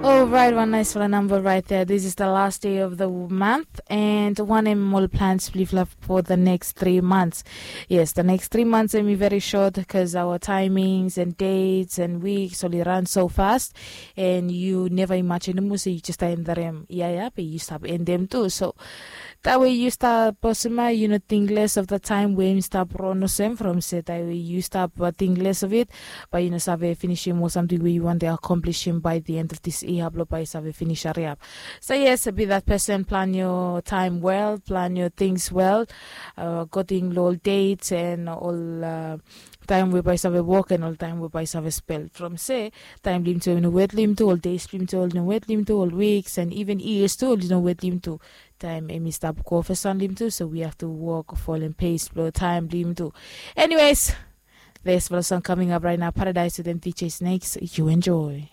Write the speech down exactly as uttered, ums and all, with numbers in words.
Alright, one nice fala number right there. This is the last day of the month, and one em ol plans blifla for the next three months. Yes, the next three months em very short because our timings and dates and weeks only run so fast, and you never imagine mo say you just end them. Yeah, yeah, but you stop end them too. So that way you stop, Bosima, you know, think less of the time when you stop run no same from say that way you stop uh, think less of it, but you know, save finishing or something where you want to accomplish him by the end of this year, blo by save finish hurry up. So yes, be that person, plan your time well, plan your things well, uh, getting all dates and all uh, time we by save work and all time we by save spell from say time lim to no wet lim to all days lim to all no wet lim to all weeks and even years to all no wet lim to time emi stop go for sun lim to so we have to work for and pay explore time lim to. Anyways, there's for song coming up right now, Paradise with M D J Snakes. You enjoy.